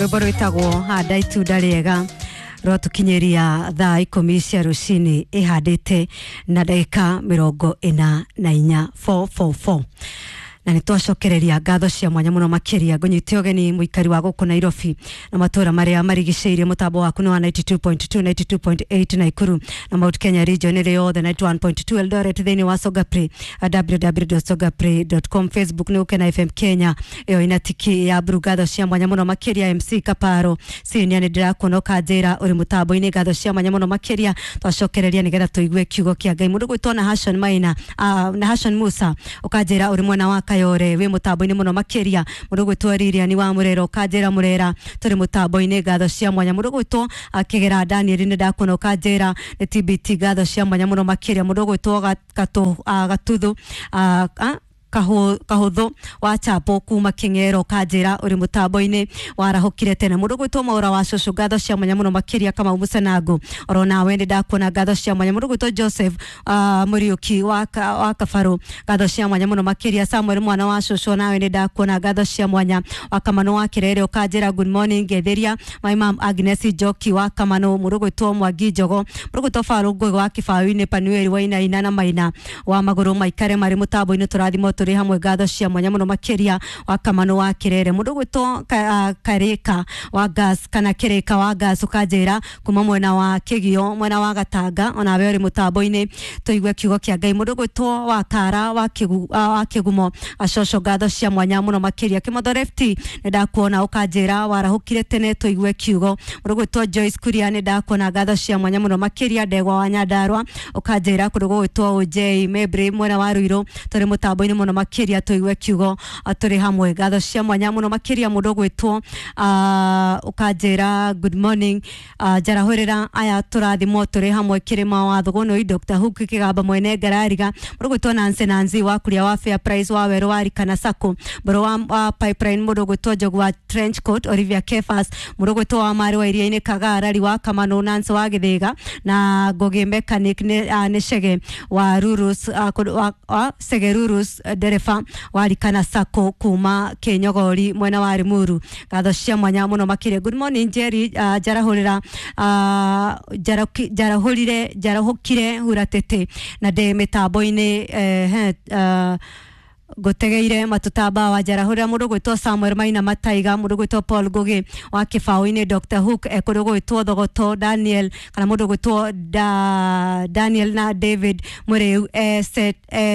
Rwĩmbo rwĩtagwo handa itunda rĩega rwatũkinyĩria thaa 10 cia rũcinĩ ĩhandĩte na ndagĩka 44 444 na nĩ twacokereria ngatho cia mwanya mũno makĩria. Ngũnyite ũgeni mũikari wa gũkũ Nairobi na matũra marĩa marigicĩirie. Mũtambo waku nĩ wa 92.2, 92.8 Naikuru na Mount Kenya region ĩrĩ yothe, 91.2 Eldoret, thĩinĩ wa Sogapre, www.sogapre.com, Facebook nĩ Gũkena FM Kenya, ĩyo ina tiki ya blue. Ngatho cia mwanya mũno makĩria. MC Kaparo Senior, nĩ ndĩrakuona ũkanjĩra ũrĩ mũtambo-inĩ. Ngatho cia mwanya mũno makĩria. Twacokereria nĩgetha tũigue kiugo kĩa Ngai. Mũndũ gwĩtwo na Hashon Maina, na Hashon Musa, ũkanjĩra ũrĩ mwena wa Kayore, wĩ mũtambo-inĩ mũno makĩria. Mũndũ gwĩtwo Lilian wa Murera, ũkanjĩra Murera tũrĩ mũtambo-inĩ. Ngatho cia mwanya. Mũndũ gwĩtwo Kĩgera Daniel, nĩ ndakuona ũkanjĩra nĩ TBT. Ngatho cia mwanya mũno makĩria. Mũndũ gwĩtwo Gatuthu Kahuthu wa Chapo kuma King'ero, kanjĩra ũrĩ mũtambo-inĩ, warahũkire tene. Mũndũ gwĩtwo Maũra wa Cũcũ, ngatho cia mwanya mũno makĩria. Kamau Mũcenango, oro nawe nĩ ndakuona. Ngatho cia mwanya. Mũndũ gwĩtwo Joseph Mũriũki wa Kabarũ, ngatho cia mwanya mũno makĩria. Samuel mwana wa Cũcũ, nawe nĩ ndakuona. Ngatho cia mwanya. Wa Kamano wa Kĩrere, ũkanjĩra good morning, ngetheria my mom Agnes Njoki wa Kamano. Mũndũ gwĩtwo Mwangi Njogo, mũndũ gwĩtwo Farũ Ngũgĩ wa Kĩbaũ-inĩ, Panueli Wainaina na Maina wa Magũrũ maikare marĩ mũtambo-inĩ, tũrathimwo tũrĩ hamwe. Ngatho cia mwanya mũno makĩria. Wa Kamano wa Kĩrere. Mũndũ gwĩtwo Karĩka wa Gas kana Kĩrĩka wa Gas, ũkanjĩra kuma mwena wa Kĩgio, mwena wa Gatanga, onawe ũrĩ mũtambo-inĩ, tũigue kiugo kĩa Ngai. Mũndũ gwĩtwo wa Kara wa Kĩgumo Acoco, ngatho cia mwanya mũno makĩria. Kĩmotho Lefty, nĩ ndakuona ũkanjĩra warahũkire tene, tũigue kiugo. Mũndũ gwĩtwo Joyce Kuria, nĩ ndakuona. Ngatho cia mwanya mũno makĩria. Ndegwa wa Nyandarua, ũkanjĩra kũndũ gũgwĩtwo J Mebri mwena wa Ruiru, tũrĩ mũtambo-inĩ mũno makĩria, tũigue kiugo tũrĩ hamwe. Ngatho cia mwanya mũno makĩria. Mũndũ gwĩtwo ũkanjĩra good morning, njarahũrĩra aya tũrathimwo tũrĩ hamwe, kĩrĩma wa Thũgũnũi, Dr. Hook Kĩgamba mwene ngarariga, mũndũ gwĩtwo Nancy Nancy wa kuria wa Fair Price wa werũ wa Rikana Sacco, mbũrũ wa Pipeline, mũndũ gwĩtwo Njogu wa Trench Coat, Olivia Kefas, mũndũ gwĩtwo wa Marĩ wa Iria-inĩ, Kagarari wa Kamano, Nancy wa Gĩthĩga na Ngũgĩ Mechanic, nĩ Cege wa Rurus, wa Cege Rurus, ndereba wa Rikana Sacco kuma Kĩnyogori mwena wa Limuru. Ngatho cia mwanya mũno makĩria. Good morning Jerry, njarahũrĩra njarahũrire njarahũkire huratete na ndĩ mĩtambo-inĩ, ngũtegeire matutamba wa njarahũrĩra. Mũndũ gwĩtwo Samuel Maina Mataiga, mũndũ gwĩtwo Paul Ngugi wa Kĩbaũ-inĩ, Dr. Hook kũndũ gwĩtwo Thogoto Daniel kana mũndũ gwĩtwo Daniel na David Mũrĩu,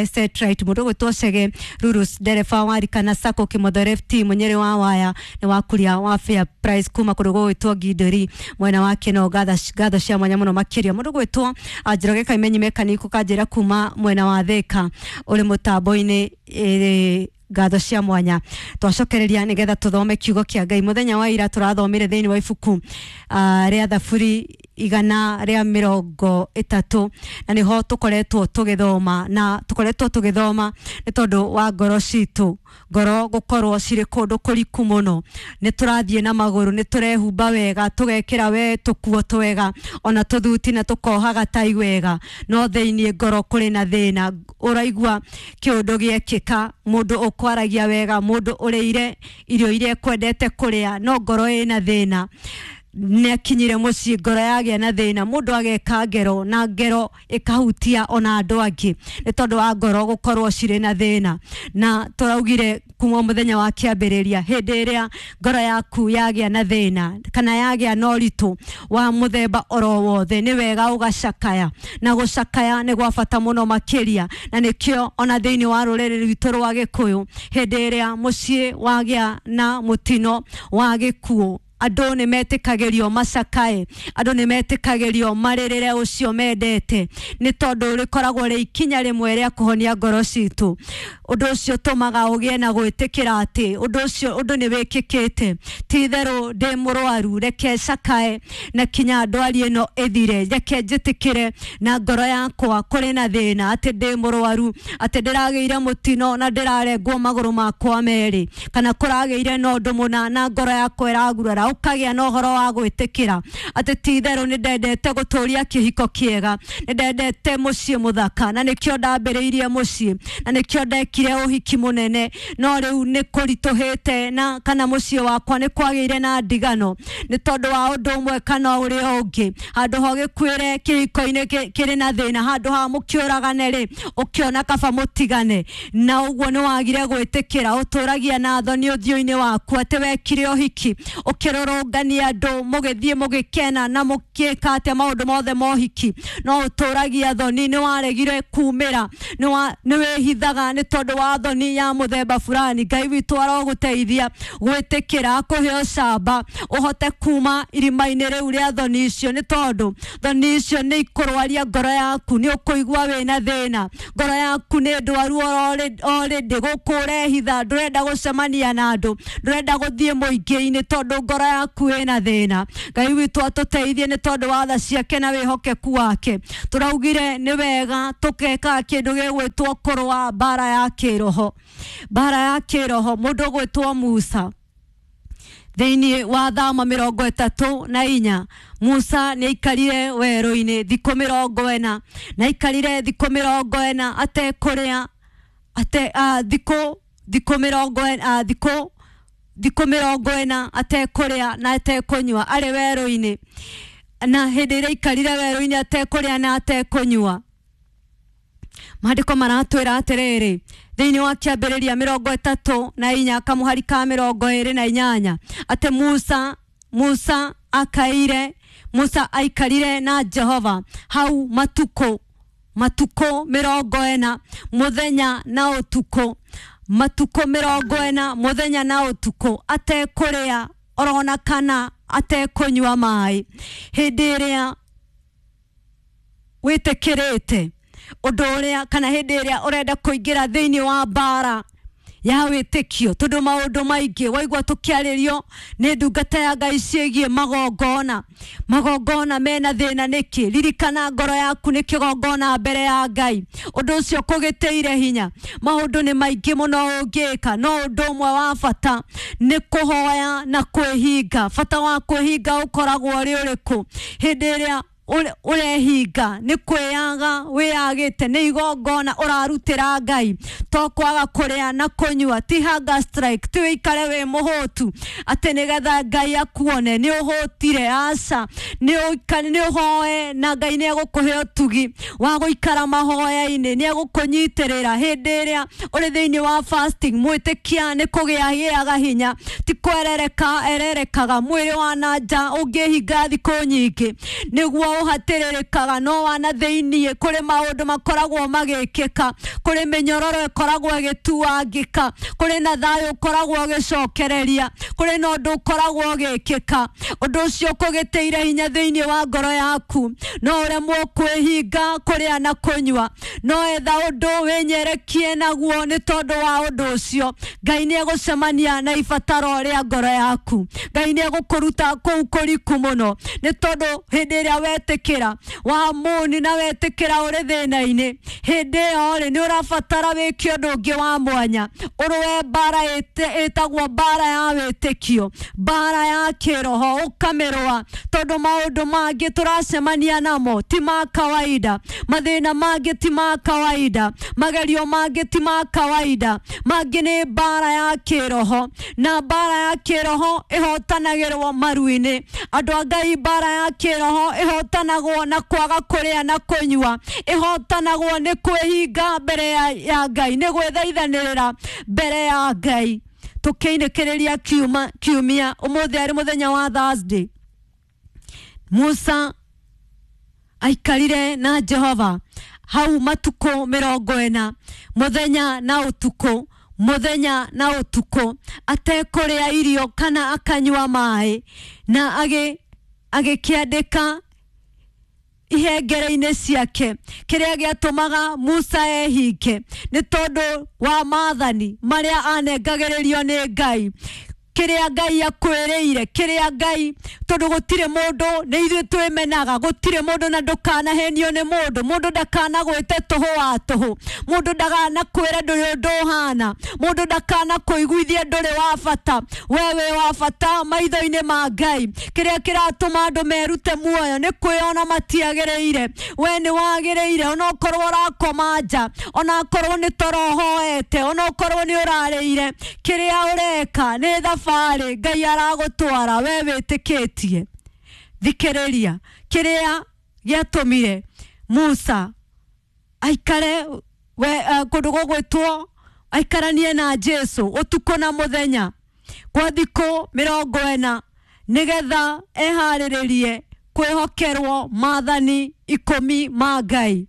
Setright, mũndũ gwĩtwo Chege Rurus ndereba wa Rikana Sacco, Kĩmotho Lefty Mũnyĩrĩ wa Waya nĩ wa kuria wa Fair Price kuma kũndũ gũgwĩtwo Ngindũri mwena wa Kĩno. Ngatho cia mwanya mũno makĩria. Mũndũ gwĩtwo Njoroge Kaimenyi Mechanic, ũkanjĩra kuma mwena wa Thĩka, ũrĩ mũtambo-inĩ. Ngatho cia mwanya. Twacokereria nĩgetha tũthome kiugo kĩa Ngai. Mũthenya wa ira tũrathomire thĩinĩ wa ibuku rĩa Thaburi 130, na nĩho tũkoretwo tũgĩthoma, na tũkoretwo tũgĩthoma nĩ tondũ wa ngoro citũ, ngoro gũkorwo cirĩ kũndũ kũriku mũno. Nĩ tũrathiĩ na magũrũ, nĩ tũrehumba wega, tũgekĩra we tũkuo twega, ona tũthuti na tũkohaga tai wega, no thĩinĩ ngoro kũrĩ na thĩna. Ũraigua kĩũndũ gĩekĩka, mũndũ ũkwaragia wega, mũndũ ũrĩire irio iria ekwendete kũrĩa, no ngoro ĩna thĩna. Nĩ akinyire mũciĩ, ngoro yagĩa na thĩna, mũndũ ageka ngero na ngero ĩkahutia ona andũ angĩ nĩ tondũ wa ngoro gũkorwo cirĩ na thĩna. Na tũraugire kuma mũthenya wa kĩambĩrĩria, hĩndĩ ĩrĩa ngoro yaku yagĩa na thĩna kana yagĩa na ũritũ wa mũthemba oro wothe, nĩ wega ũgacakaya, na gũcakaya nĩ gwa bata mũno makĩria. Na nĩkĩo ona thĩinĩ wa rũrĩrĩ rwitũ rwa Gĩkũyũ, hĩndĩ ĩrĩa mũciĩ wagĩa na mũtino wa gĩkuũ, andũ nĩ metĩkagĩrio macakae, andũ nĩ metĩkagĩrio marĩrĩre ũcio mendete, nĩ tondũ rĩkoragwo rĩ ikinya rĩmwe rĩa kũhonia ngoro citũ. Ũndũ ũcio ũtũmaga ũgĩe na gwĩtĩkĩra atĩ ũndũ ũcio ũndũ nĩ wĩkĩkĩte, ti itherũ ndĩ mũrwaru, reke cakae na kinya ndwari ĩno ĩthire, reke njĩtĩkĩre na ngoro yakwa kũrĩ na thĩna, atĩ ndĩ mũrwaru, atĩ ndĩragĩire mũtino na ndĩrarengwo magũrũ makwa merĩ, kana kũragĩire na ũndũ mũna na ngoro yakwa ĩragurara. gwĩtĩkĩra, ũkagĩa na ũhoro wa gwĩtĩkĩra atĩ ti itherũ nĩ ndendete gũtũria kĩhiko kĩega, nĩ ndendete mũciĩ mũthaka, na nĩkĩo ndambĩrĩirie mũciĩ, na nĩkĩo ndekire ũhiki mũnene, no rĩu nĩ kũritũhĩte na kana mũciĩ wakwa nĩ kwagĩire na ndigano nĩ tondũ wa ũndũ ũmwe kana ũrĩa ũngĩ. Handũ ha ũgĩkuĩre kĩhiko-inĩ kĩrĩ na thĩna, handũ ha mũkĩũragane rĩ, ũkĩona kaba mũtigane, na ũguo nĩ wagire gwĩtĩkĩra. Ũtũragia na thoni ũthiũ-inĩ waku atĩ wekire ũhiki, ũkĩrũrũngania andũ, mũgĩthiĩ mũgĩkena na mũgĩka atĩa maũndũ mothe ma ũhiki, no ũtũragia thoni, nĩ waregire kumĩra, nĩ wĩhithaga nĩ tondũ wa thoni ya mũthemba fulani. Ngai witũ arogũteithia gwĩtĩkĩra, akũhe ũcamba ũhote kuma irima-inĩ rĩu rĩa thoni icio, nĩ tondũ thoni icio nĩ ikũrwaria ngoro yaku, nĩ ũkũigua wĩna thĩna, ngoro yaku nĩ ndwaru already, gũkũ ũrehitha, ndũrenda gũcemania na andũ, ndũrenda gũthiĩ mũingĩ-inĩ tondũ ngoro yaku ĩna thĩna. Ngai witũ atũteithie nĩ tondũ wa tha ciake na wĩhokeku wake. Tũraugire nĩ wega tũkeka kĩndũ gĩgwĩtwo kũrũa mbara ya kĩroho, mbara ya kĩroho. Mũndũ ũgwĩtwo Musa thĩinĩ wa Thama 34, Musa nĩ aikarire werũ-inĩ thikũ 40, na aikarire thikũ 40 atekũrĩa, ate thikũ thikũ 40, thikũ 40 atekũrĩa na atekũnyua arĩ werũ-inĩ. Na hĩndĩ ĩrĩa aikarire werũ-inĩ atekũrĩa na atekũnyua, maandĩko maratwĩra atĩrĩrĩ thĩinĩ wa kĩambĩrĩria 34 kamũhari ka 28 atĩ Musa akaire, Musa aikarire na Jehova hau matukũ 40 mũthenya na ũtukũ, matukũ 40 mũthenya na ũtukũ, atekũrĩa orona kana atekũnyua maĩ. Hĩndĩ ĩrĩa wĩtĩkĩrĩte ũndũ ũrĩa, kana hĩndĩ ĩrĩa ũrenda kũingĩra thĩinĩ wa mbara ya wĩtĩkio, tondũ maũndũ maingĩ waigua tũkĩarĩrio nĩ ndungata ya Ngai ciĩgiĩ magongona, magongona mena thĩna nĩkĩ? Ririkana ngoro yaku nĩ kĩgongona mbere ya Ngai, ũndũ ũcio kũgĩtĩire hinya. Maũndũ nĩ maingĩ mũno ũngĩka, no ũndũ ũmwe wa bata nĩ kũhoya na kwĩhinga. Bata wa kwĩhinga ũkoragwo ũrĩ ũrĩkũ? Hĩndĩ ĩrĩa ũrehinga nĩ kwĩyaga wĩyagĩte, nĩ igongona ũrarutĩra Ngai, to kwaga kũrĩa na kũnyua, ti hunger strike, ti wĩikare wĩ mũhũtu atĩ nĩgetha Ngai akuone nĩ ũhũtire. Aca, nĩ ũhoe na Ngai nĩ egũkũhe ũtugi wa gũikara mahoya-inĩ, nĩ egũkũnyitĩrĩra hĩndĩ ĩrĩa ũrĩ thĩinĩ wa fasting. Mwĩtĩkia nĩ kũgĩa gĩaga hinya, ti kwerereka ererekaga. Mwĩrĩ wa na nja ũngĩhinga thikũ nyingĩ nĩguo ũhatĩrĩrĩkaga, no wana thĩinĩ kũrĩ maũndũ makoragwo magĩkĩka, kũrĩ mĩnyororo ĩkoragwo ĩgĩtuangĩka, kũrĩ na thayũ ũkoragwo ũgĩcokereria, kũrĩ na ũndũ ũkoragwo ũgĩkĩka. Ũndũ ũcio ũkũgĩtĩire hinya thĩinĩ wa ngoro yaku, no ũremwo kwĩhinga kũrĩa na kũnyua, no etha ũndũ wĩnyerekie naguo nĩ tondũ wa ũndũ ũcio Ngai nĩ egũcemania na ibataro rĩa ngoro yaku. Ngai nĩ egũkũruta kũu kũriku mũno, nĩ tondũ hĩndĩ ĩrĩa wetĩkĩra wa muni na wetĩkĩra ũrĩ thĩna-inĩ, hĩndĩ ĩyo rĩ nĩ ũrabatara wĩke ũndũ ũngĩ wa mwanya, ũrũe mbara ĩtagwo mbara ya wĩtĩkio, mbara ya kĩroho, ũkamĩrũa, tondũ maũndũ mangĩ tũracemania namo ti ma kawaida, mathĩna mangĩ ti ma kawaida, magerio mangĩ ti ma kawaida, mangĩ nĩ mbara ya kĩroho, na mbara ya kĩroho ĩhotanagĩrwo maru-inĩ. Andũ a Ngai, mbara ya kĩroho ĩhotanagwo na kwaga kũrĩa na kũnyua, ĩhotanagwo nĩ kwĩhinga mbere ya Ngai, nĩ gwĩthaithanĩrĩra mbere ya Ngai. Tũkĩinĩkĩrĩria kiumia, ũmũthĩ arĩ mũthenya wa Thursday, Musa aikarire na Jehova hau matukũ 40 mũthenya na ũtukũ, mũthenya na ũtukũ, atekũrĩa irio kana akanyua maĩ, na agĩkĩandĩka ihengere-inĩ ciake. Kĩrĩa gĩatũmaga Musa ehinge nĩ tondũ wa maathani marĩa anengagĩrĩrio nĩ Ngai. Kĩrĩa Ngai akwĩrĩire, kĩrĩa Ngai, tondũ gũtirĩ mũndũ, nĩ ithuĩ twĩmenaga, gũtirĩ mũndũ, na ndũkanahenio nĩ mũndũ. Mũndũ ndakanagwĩte tũhũ wa tũhũ, mũndũ ndakanakwĩre ndũrĩ ũndũ ũhana, mũndũ ndakanakũiguithie ndũrĩ wa bata. We wĩ wa bata maitho-inĩ ma Ngai. Kĩrĩa kĩratũma andũ merute muoyo nĩ kwĩona matiagĩrĩire. We nĩ wagĩrĩire, onokorwo ũrakoma nja, onakorwo nĩ toro ũhoete, onokorwo nĩ ũrarĩire, kĩrĩa ũreka nĩ thabarĩ Ngai aragũtwara, we wĩtĩkĩtie. Thikĩrĩria, kĩrĩa gĩatũmire Musa aikare we, kũndũ gũgwĩtwo aikaranie na Jesu ũtukũ na mũthenya kwa thikũ 40 nĩgetha eharĩrĩrie kwĩhokerwo maathani 10 ma Ngai.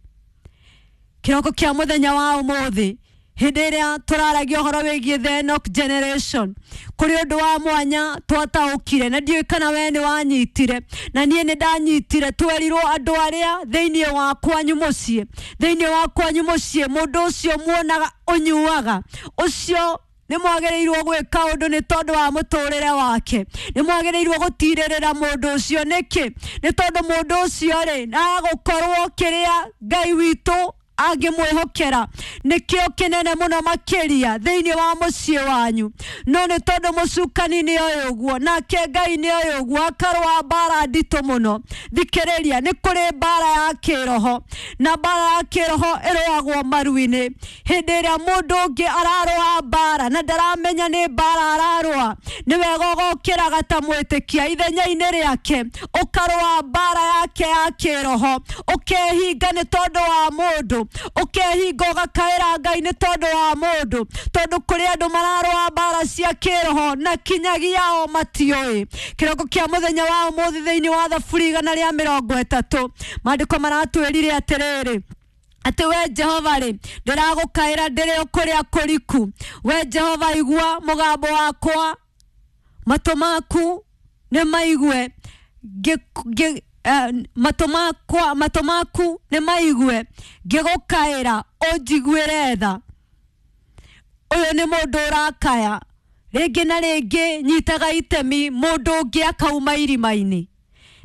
Kĩroko kĩa mũthenya wa ũmũthĩ, hĩndĩ ĩrĩa tũraragia ũhoro wĩgiĩ the Enoch generation, kũrĩ ũndũ wa mwanya twataũkire, na ndiũĩ kana we nĩ wanyitire, na niĩ nĩ ndanyitire. Twerirwo andũ arĩa thĩinĩ wa kwanyu mũciĩ, thĩinĩ wa kwanyu mũciĩ, mũndũ ũcio muonaga ũnyuaga, ũcio nĩ mwagĩrĩirwo gwĩka ũndũ nĩ tondũ wa mũtũrĩre wake, nĩ mwagĩrĩirwo gũtirĩrĩra mũndũ ũcio. Nĩkĩ? Nĩ tondũ mũndũ ũcio rĩ, agũkorwo kĩrĩa Ngai witũ angĩmwĩhokera nĩkĩo kĩnene mũno makĩria thĩinĩ wa mũciĩ wanyu. No nĩ tondũ mũcukani nĩ oĩ ũguo, nake Ngai nĩ oĩ ũguo, akarũa mbara nditũ mũno. Thikĩrĩria, nĩ kũrĩ mbara ya kĩroho, na mbara ya kĩroho ĩrũagwo maru-inĩ. Hĩndĩ ĩrĩa mũndũ ũngĩ ararũa mbara na ndaramenya nĩ mbara ararũa, nĩ wega ũgokĩraga ta mwĩtĩkia ithenya-inĩ rĩake, ũkarũa mbara yake ya kĩroho, ũkehinga nĩ tondũ wa mũndũ, ũkehinga ũgakaĩra Ngai nĩ tondũ wa mũndũ, tondũ kũrĩ andũ mararũa mbara cia kĩroho na kinyagia o matiũĩ. Kĩroko kĩa mũthenya wa ũmũthĩ thĩinĩ wa Thaburi 130, maandĩko maratwĩrire atĩrĩrĩ, atĩ we Jehova rĩ, ndĩragũkaĩra ndĩrĩ o kũrĩa kũriku. We Jehova, igua mũgambo wakwa, matũ maku nĩ maigue, matũ maku nĩ maigue ngĩgũkaĩra, ũnjiguĩre tha. Ũyũ nĩ mũndũ ũrakaya rĩngĩ na rĩngĩ, nyitaga itemi mũndũ ũngĩ akauma irima-inĩ,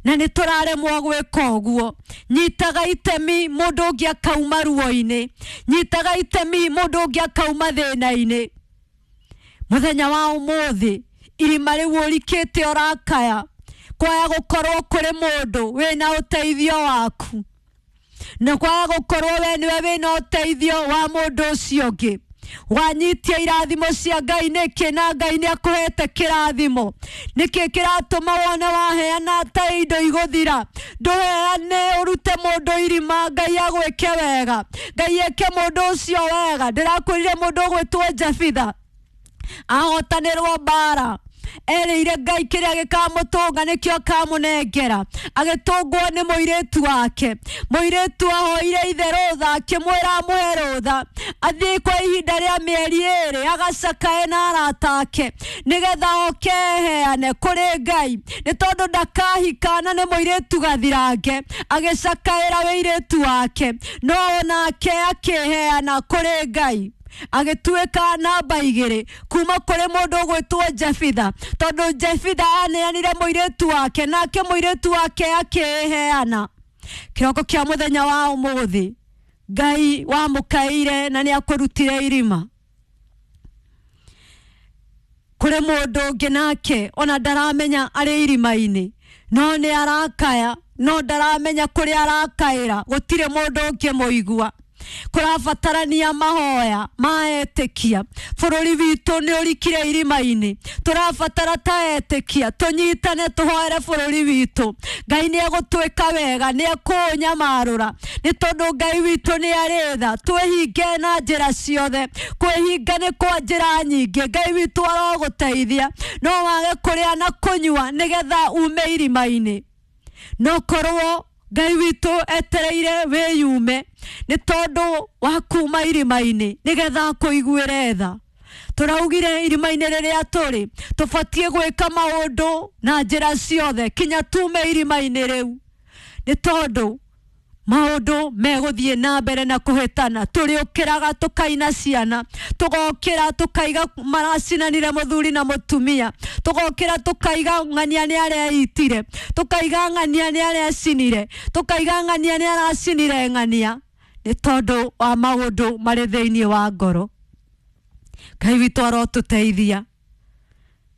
na nĩ tũraremwo gwĩka ũguo. Nyitaga itemi mũndũ ũngĩ akauma ruo-inĩ, nyitaga itemi mũndũ ũngĩ akauma thĩna-inĩ. Mũthenya wa ũmũthĩ, irima rĩu ũrikĩte ũrakaya, kwaya gũkorwo kũrĩ mũndũ wĩna ũteithio waku, na kwaya gũkorwo we nĩwe wĩna ũteithio wa mũndũ ũcio ũngĩ. Wanyitia irathimo cia Ngai nĩkĩ, na Ngai nĩ akũhete kĩrathimo? Nĩkĩ kĩratũma wone waheana ta indo igũthira? Ndũheane ũrute mũndũ irima, Ngai agwĩke wega, Ngai eke mũndũ ũcio wega. Ndĩrakwĩrire mũndũ ũgwĩtwo Jefitha ahotanĩrwo mbara, erĩire Ngai kĩrĩa gĩkamũtũnga nĩkĩo akamũnengera. Agĩtũngwo nĩ mũirĩtu wake, mũirĩtu ahoire ithe rũtha, akĩmwĩra amũhe rũtha athiĩ kwa ihinda rĩa mĩeri 2 agacakae na arata ake, nĩgetha oke eheane kũrĩ Ngai, nĩ tondũ ndakahika na nĩ mũirĩtu gathirange. Agĩcakaĩra wĩirĩtu wake, no onake akĩheana kũrĩ Ngai, agĩtuĩka namba 2 kuma kũrĩ mũndũ ũgwĩtwo Jefitha, tondũ Jefitha aneanire mũirĩtu wake, nake mũirĩtu wake akĩheana. Kĩroko kĩa mũthenya wa ũmũthĩ, Ngai wamũkaĩire na nĩ akũrutire irima. Kũrĩ mũndũ ũngĩ nake ona ndaramenya arĩ irima-inĩ, no nĩ arakaya, no ndaramenya kũrĩa arakaĩra, gũtirĩ mũndũ ũngĩmũigua. Kũrabatarania mahoya ma etĩkia. Bũrũri witũ nĩ ũrikire irima-inĩ, tũrabatara ta etĩkia tũnyitane tũhoere bũrũri witũ. Ngai nĩ egũtwĩka wega, nĩ ekũũnyamarũra, nĩ tondũ Ngai witũ nĩ arĩ tha. Twĩhinge na njĩra ciothe, kwĩhinga nĩ kwa njĩra nyingĩ. Ngai witũ arogũteithia, no wage kũrĩa na kũnyua nĩgetha ume irima-inĩ. No korwo Ngai witũ etereire wĩyume nĩ tondũ wa kuma irima-inĩ nĩgetha akũiguĩre tha. Tũraugire irima-inĩ rĩrĩa tũrĩ, tũbatiĩ gwĩka maũndũ na njĩra ciothe kinya tume irima-inĩ rĩu, nĩ tondũ Maundu megũthiĩ na mbere na kũhĩtana. Tũrĩũkĩraga tũkaina ciana, tũgokĩra tũkaiga maracinanire mũthuri na mũtumia, tũgokĩra tũkaiga ng'ania nĩ areitire, tũkaiga ng'ania nĩ arecinire, tũkaiga ng'ania nĩ aracinire ng'ania, nĩ tondũ wa maũndũ marĩ thĩinĩ wa ngoro. Ngai witũ arotũteithia,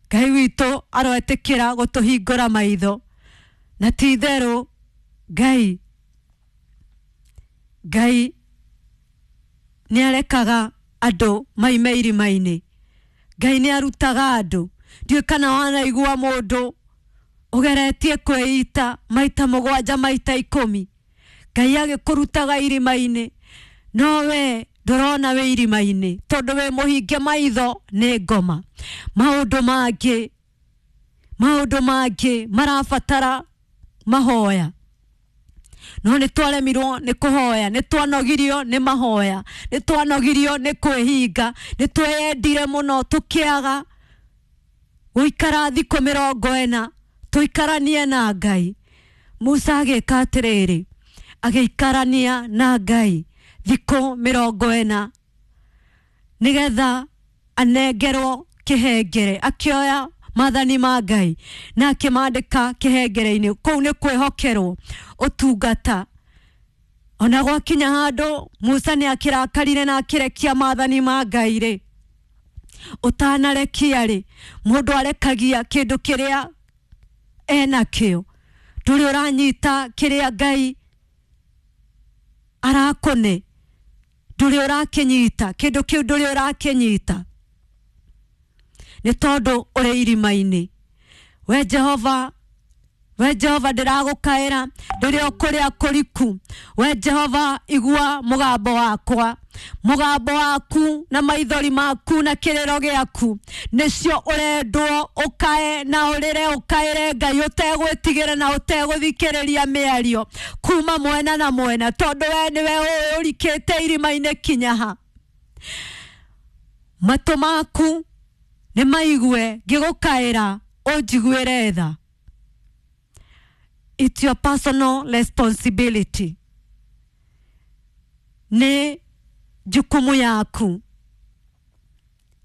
Ngai witũ aroetĩkĩra gũtũhingũra maitho, na ti itherũ Ngai Ngai nĩ arekaga andũ maime irima-inĩ. Ngai nĩ arutaga andũ. Ndiũĩ kana wanaigua mũndũ ũgeretie kwĩita maita 7 maita 10, Ngai agĩkũrutaga irima-inĩ, no we ndũrona wĩ irima-inĩ tondũ wĩ mũhinge maitho nĩ ngoma. Maũndũ mangĩ marabatara mahoya, no nĩ twaremirwo nĩ kũhoya, nĩ twanogirio nĩ mahoya, nĩ twanogirio nĩ kwĩhinga, nĩ tweyendire mũno tũkĩaga gũikara thikũ 40 tũikaranie na Ngai. Musa agĩka atĩrĩrĩ, agĩikarania na Ngai thikũ 40 nĩgetha anengerwo kĩhengere. Akĩoya maathani ma Ngai na akĩmandĩka kĩhengere-inĩ. Kũu nĩ kwĩhokerwo ũtungata. Ona gwakinya handũ Musa nĩ akĩrakarire na akĩrekia maathani ma Ngai rĩ, ũtanarekia rĩ, mũndũ arekagia kĩndũ kĩrĩa enakĩo. Ndũrĩ ũranyita kĩrĩa Ngai arakũne, ndũrĩ ũrakĩnyita kĩndũ kĩu, ndũrĩ ũrakĩnyita nĩ tondũ ũrĩ irima-inĩ. We Jehova, we Jehova ndĩragũkaĩra ndĩrĩ o kũrĩa kũriku. We Jehova, igua mũgambo wakwa, mũgambo waku na maithori maku na kĩrĩro gĩaku nĩcio ũrendwo ũkae na ũrĩre, ũkaĩre Ngai ũtegwĩtigĩra na ũtegũthikĩrĩria mĩario kuma mwena na mwena, tondũ we nĩwe ũĩ ũrikĩte irima-inĩ kinya ha. Matũ maku nĩ maigue ngĩgũkaĩra, ũnjiguĩre tha. It's your personal responsibility. Nĩ jukumu yaku,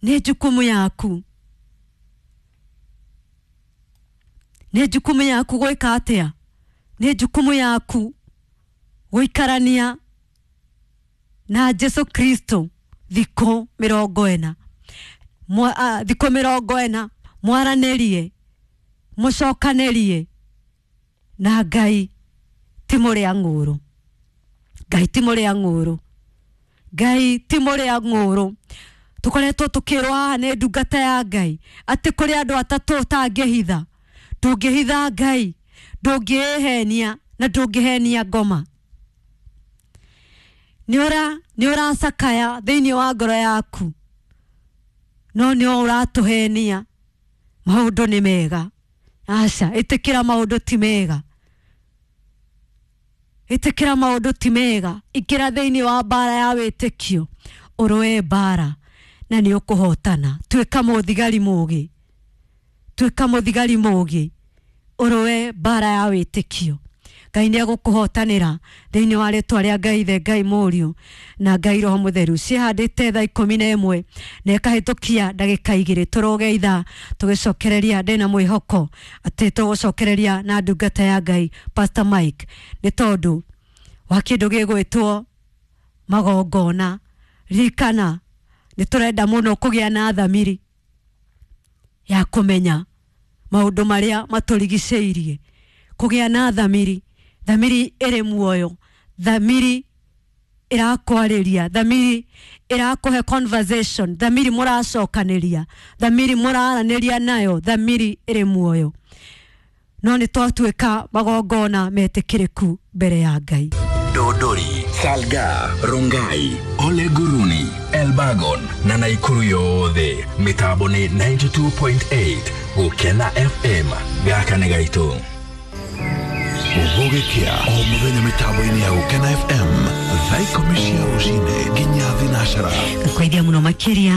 nĩ jukumu yaku, nĩ jukumu yaku gwĩka atĩa? Nĩ jukumu yaku gũikarania na Jesu Kristo thikũ 40, thikũ 40, mwaranĩrie, mũcokanĩrie na Ngai. Ti mũrĩa ng'ũrũ, Ngai ti mũrĩa ng'ũrũ, Ngai ti mũrĩa ng'ũrũ. Tũkoretwo tũkĩrwo haha nĩ ndungata ya Ngai atĩ kũrĩ andũ atatũ ũtangĩhitha. Ndũngĩhitha Ngai, ndũngĩĩhenia na ndũngĩhenia ngoma. Nĩ ũracakaya thĩinĩ wa ngoro yaku, no nĩ ũratũhenia maũndũ nĩ mega. Aca, ĩtĩkĩra maũndũ ti mega, ĩtĩkĩra maũndũ ti mega. Ingĩra thĩinĩ wa mbara ya wĩtĩkio, ũrũe mbara na nĩ ũkũhotana. Tuĩka mũthigari mũũgĩ, tuĩka mũthigari mũũgĩ, ũrũe mbara ya wĩtĩkio. Ngai nĩ egũkũhotanĩra thĩinĩ wa rĩtwa rĩa Ngai Ithe, Ngai Mũriũ na Ngai Roho Mũtheru. Ciĩhandĩte thaa 11 na ĩkahĩtũkia ndagĩka 2. Tũrũge ithaa tũgĩcokereria, ndĩna mwĩhoko atĩ tũgũcokereria na ndungata ya Ngai Pastor Mike, nĩ tondũ wa kĩndũ gĩgwĩtwo magongona. Ririkana nĩ tũrenda mũno kũgĩa na thamiri ya kũmenya maũndũ marĩa matũrigicĩirie, kũgĩa na thamiri, thamiri ĩrĩ muoyo, thamiri ĩrakwarĩria, thamiri ĩrakũhe conversation, thamiri mũracokanĩria, thamiri mũraranĩria nayo, thamiri ĩrĩ muoyo. No nĩ twatuĩka magongona metĩkĩrĩku mbere ya Ngai. Dodori, Salga, Rongai, Ole Guruni, Elbagon na Naikuru yothe. Mĩtambo nĩ 92.8 Gũkena FM. Gaka nĩ gaitũ. Gũgĩkĩa o mũthenya mĩtambo-inĩ ya Gũkena FM thaa 10 cia rũcinĩ nginya 4:00. Ngũkwaithia mũno makĩria.